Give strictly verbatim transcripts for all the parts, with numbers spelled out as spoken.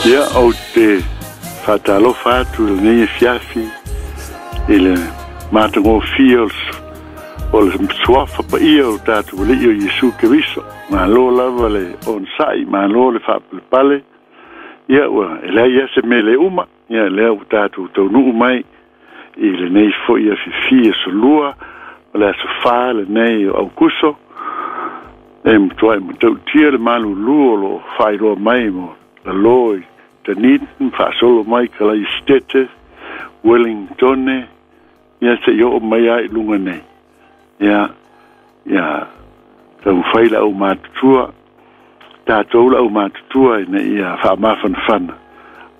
Ia ou te faatalofa atu i lenei afiafi i le matagofie o le suafa paia o tatou Alii o Iesu Keriso. Malo lava le onosai, malo le faapalepale. Ia ua e leai lava se mea le uma, ia lea ua tatou taunuu mai i lenei foi afiafi aso Lua, o le aso fa lenei o Aukuso, e matuai matautia le malulu o loo faailoa mai mo lalō i Dunedin, faasolo mai Kalaesetete, Wellingtone, ia seia oo mai lava i luga nei. Ia, ia taumafai le aumatutua, tatou le aumatutua ina ia faamafanafana,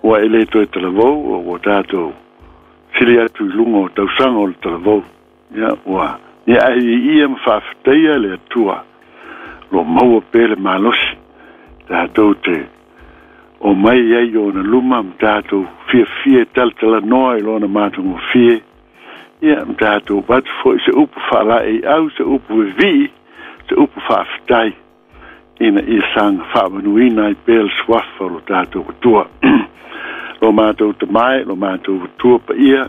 ua e lē toe talavou, ua tatou sili atu i luga o tausaga o le talavou. Ia ua ia ae ia ma faafetaia le Atua lo maua pea le malosi tatou te o mai ai ona luma ma tatou fiafia e talatalanoa i lona matagofie. Ia ma tatou avatu foi se upu faalaeiau, se upu vevii, se upu faafetai, ina ia saga faamanuina ai pea le suafa o lo tatou Atua. Lo matou Tama e, lo matou Atua paia,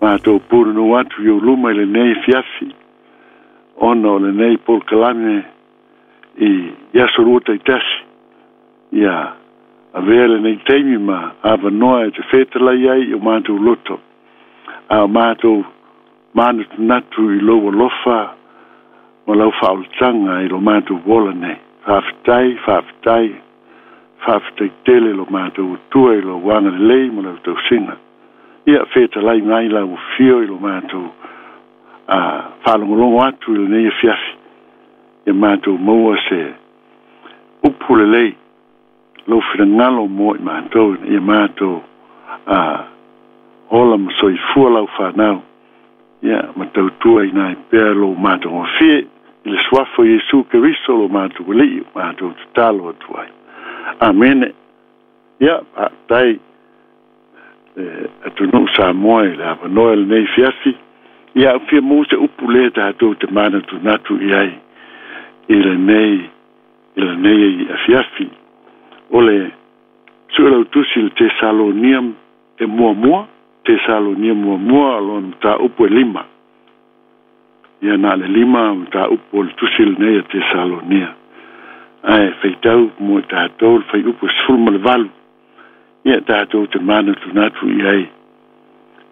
matou pulenuu atu i ou luma i lenei afiafi, ona o lenei polokalame i aso lua taitasi. Ia avea lenei taimi ma avanoa e te fetalai ai i o matou loto, a o matou manatunatu i lou alofa ma lau faaolataga i lo matou ola nei. Faafetai, faafetai, faafetai tele lo matou Atua i lou agalelei ma lau tausiga. Ia fetalai mai lau afio i lo matou a faalogologo atu i lenei afiafi, ia matou maua se upu lelei, lou finagalo mo i matou, ia matou a ola ma soifua lau fanau, ia ma tautua ina ai pea lou matagofie i le suafa o Iesu Keriso lo matou Alii matou tatalo atu ai. Amene. Ia faafetai e atunuu Samoa i le avanoa i lenei afiafi. Ia au fia maua se upu lea tatou te manatunatu i ai i lenei i lenei afiafi. O le Suelautusi le Tesalonia e muamua, Tesalonia muamua lona mataupu e lima. Ia na le lima mataupu o le tusi lenei a Tesalonia. Ae faitau mo tatou le fuaiupu sefulu ma le valu. Ia tatou te manatunatu i ai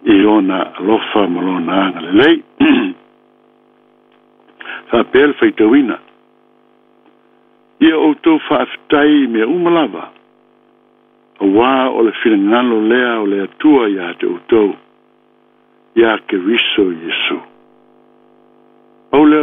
i ona alofa ma lona agalelei. Faapea le faitauina. Ia outou faafetai i mea uma lava, auā o le finagalo lea o le Atua ia te outou, ia Keriso Iesu. Pau lea.